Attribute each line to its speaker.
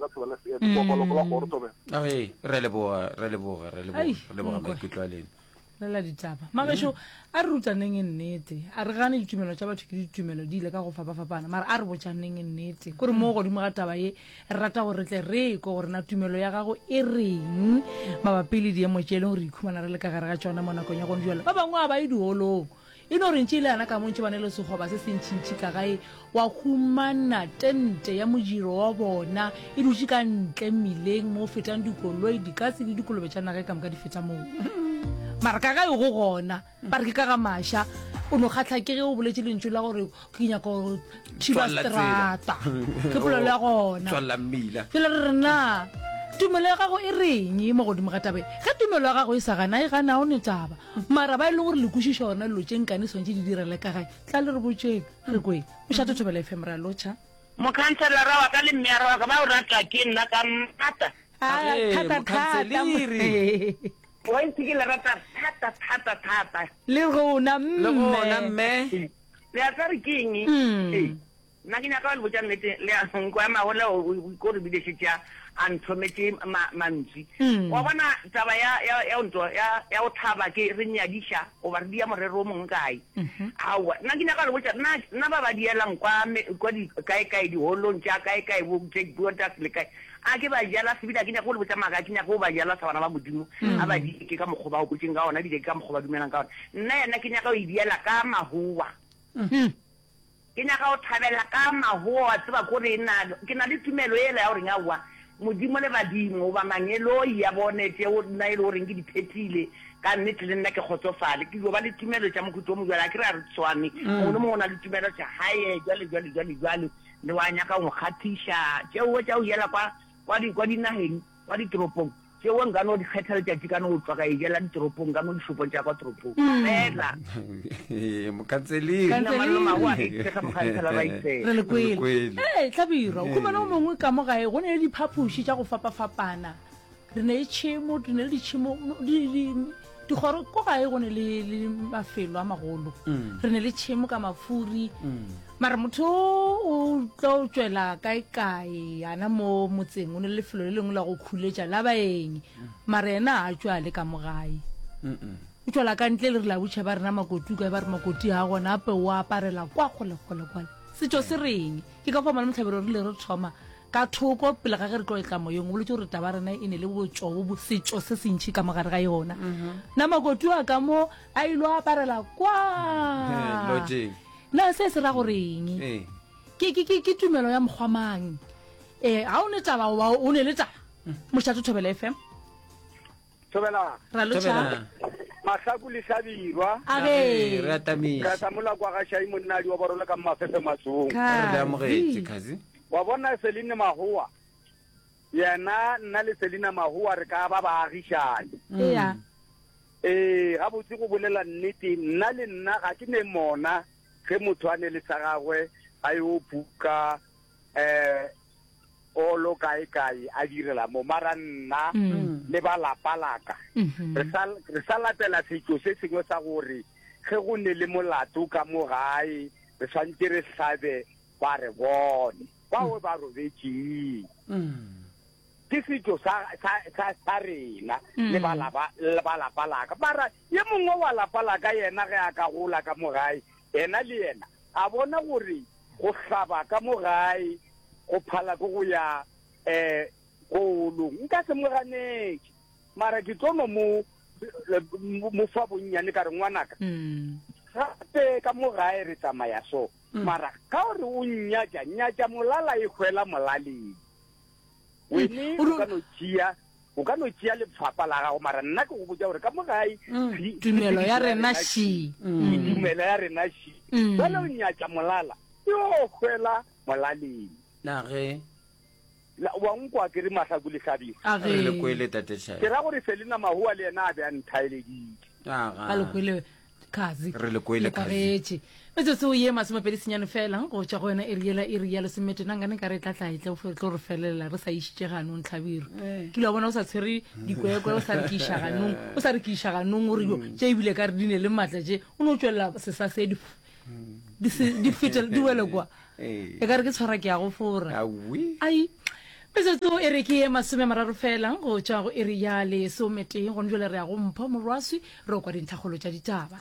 Speaker 1: ka Thobela FM. Kopaloko la kgoro Thobela.
Speaker 2: Ee, re a leboga, re a leboga, re a leboga,
Speaker 3: Ai,
Speaker 2: re leboga
Speaker 3: nkwe.
Speaker 2: maikutlo a lena.
Speaker 3: Lela ditaba. Magešo, a re rutaneng nnete. A re gane ditumelo tša batho ke ditumelo di ile ka go fapafapana, mara a re botšaneng nnete. Kore mo godimo ga taba ye, re rata gore re tle re kwe gore na tumelo ya gago e reng mabapi le diemo tše e leng gore re ikhumana re le ka gare ga tšona mo nakong ya gone jwale. Ba bangwe ga ba ye diholong. E no re ntše e le yana ka mo ntše ba ne le sekgoba se sentšintši ka gae, wa humana tente ya modiro wa bona e dutše ka ntle mmileng mo go fetang dikoloi, dikatse le dikolobe tša naga ka moka di feta moo. Mara ka gae go gona, ba re ke ka ga maša. O no kgahla ke ge o boletše lentšu la gore ke nyaka go thiba
Speaker 2: Tswalla tsela.
Speaker 3: seterata. Ke polelo ya gona.
Speaker 2: Tswalla mmila.
Speaker 3: Jwale re re na tumelo ya gago e reng mo godimo ga taba e? Ge tumelo ya gago e sa gana, e gana, ga o ne taba. Mara ba e leng gore le kwešiša gona dilo tše nkane swantše di direle ka gae, tla le re botšeng, re kweng. Mošate Thobela FM, re a lotšha.
Speaker 4: Mokhanselara wa ka le mmeyara wa ka ba o ratwa ke nna ka maata.
Speaker 2: Agee,
Speaker 3: Thata, thata.
Speaker 2: mokhanseliri.
Speaker 4: Wa itse ke le rata thata, thata, thata.
Speaker 3: Le rona,
Speaker 2: Le gona,
Speaker 3: mme.
Speaker 2: mme.
Speaker 4: Le a tseba re ke eng? Ee. Nna ke nyaka go le botša nnete, le a nkwa mahola o o ko re bile šetše a a nthometše ma mantswi. Wa bona taba ya ya ya nto ya ya go thaba ke re nyadiša goba re dia morero o mongwe kae. Aowa, nna ke nyaka go le botša nna nna ba ba dielang kwa me kwa di kae kae diholong tša kae kae bo tše Botas le kae. A ke ba jala sebile a ke nyake go le botša maaka, a ke nyake go ba jala sa bana ba Modimo. A ba die ke ka mokgwa ba gopotšeng ka ona ebile ke ka mokgwa ba dumelang ka ona. Nna yena ke nyaka go e diela ka mahowa. Ke nyaka go thabela ka mahoa, wa tseba, kore na ke na le tumelo yela ya goreng aowa, Modimo le badimo, goba mangeloi a bone tšeo nna e le goreng ke di phethile, ka nnete le nna ke kgotsofale. Ke dio ba le tumelo tša mohuta o mobjalo. A ke re a re tshwane, mongwe le mongwe o na le tumelo tša hae, jwale, jwale, jwale, jwale, le wa nyaka go nkgathiša. Tšeo tša go yela kwa, kwa di, kwa dinageng, kwa ditoropong. Tšeo nka no di kgetha letšatši ka no tšwa ka e jela ditoropong, ka mo dishopong tša kwa toropong. Fela.
Speaker 2: Mokhanseliri.
Speaker 3: Re le kwele. Ee, Hlabirwa, o khumana o mongwe ka mo gae, go ne le diphapoši tša go fapafapana. Re ne le tšhemo, re ne le ditšhemo, di, di, dikgoro, ko gae go ne le, le mafelo a magolo. Re ne le tšhemo ka mafuri. Mara motho o tlo tšwela kae-kae yana mo motseng, o ne le lefelo le lengwe la go khuletša la baeng, mara yena a tšwa le ka mo gae. O tšwela ka ntle le re la butšha ba rena makoti kae, ba re makoti ga gona, ape o aparela kwa kgole-kgole kwale. Setšo se reng? Ke ka fao Malome Hlabirwa re ile re thoma ka thoko pele ga ge re tlo etla moyeng, o boletše gore taba rena e ne le botšo bo setšo se sentši ka mogare ga yona. Na makoti a ka mo a ilo aparela kwa.
Speaker 2: Lodging.
Speaker 3: Na se se ra gore eng?
Speaker 2: Ee.
Speaker 3: Ke, ke, ke, ke tumelo ya mokgwa mang? Ee, ga o ne taba goba o ne le taba? Mošate Thobela FM.
Speaker 1: Thobela.
Speaker 3: Ra lotšha.
Speaker 2: Thobela.
Speaker 1: Mahlaku le Hlabirwa.
Speaker 3: A ge.
Speaker 2: Re atamisa.
Speaker 1: Ka tla mola kwa ga Shai monnadi wa borole ka Mmafefe Matsong.
Speaker 2: Re le amogetše, Khazi.
Speaker 1: Wa bona Celine Mahoa. Yena nna le Selina Mahoa re ka ba baagišani.
Speaker 3: Ea.
Speaker 1: Ee, gabotse go bolela nnete, nna le nna ga ke ne mona ge motho a ne le sa gagwe a yo buka um olo kae kae a direla mo, mara nna le ba lapa la ka re sa re sa latela setšo se sengwe sa gore ge go ne le molato ka mo gae re swanetše re hlabe ba re bone bao ba robetšeng. Ke setšo sa, sa, sa, sa rena le ba lapa, le ba lapa la ka. Mara ye mongwe wa lapa la ka yena ge a ka gola ka mo gae, yena le yena a bona gore go hlaba ka mo gae go phala ke go ya um koolong. Nka se mo ganetše, mara ke tlo no mo, mo fa bonnyane ka re, Ngwanaka, gape ka mo gae re tsamaya so. Mara ka gore o nnyatša, nyatša molala e hwela molaleng. Wene o ka no tšea, o ka no tšea lefapa la gago, mara nna ke go botša gore ka mo gae
Speaker 3: Tumelo ya rena še.
Speaker 1: Tumelo ya rena še. Bjale o nyatša molala, e yo hwela molaleng.
Speaker 2: Na ge.
Speaker 1: La, wa nkwa ke re Mahlaku le Hlabirwa?
Speaker 3: A ge.
Speaker 2: Re le kwele, Tate Shai.
Speaker 1: Ke ra gore Selina Mahoa le yena a be a nthaeleditše.
Speaker 2: Aga.
Speaker 3: A le kwele, Khazi.
Speaker 2: Re le kwele,
Speaker 3: Le kwagetše. Metsotso ye masomepedi senyane fela go tšwa go yona iri yela iri ya lesomete nna nkane ka re tla tla e tla tlo re felelela re sa išitše ganong Hlabirwa. Ke ile wa bona o sa tshwere dikwekwe o sa re ke iša ganong o sa re ke iša ganong o re yo tše ebile ka re di ne le maatla tše o no tšwelela sesasedi di se di fete di wele kwa. E ka re ke tshwara ke ya go fora.
Speaker 2: Awi.
Speaker 3: Ai. Metsotso e re ke ye masomemararo fela go tšwa go iri ya lesometee. Gone jwale re ya go Mpho Morwaswi re o kwa dintlhakgolo tša ditaba.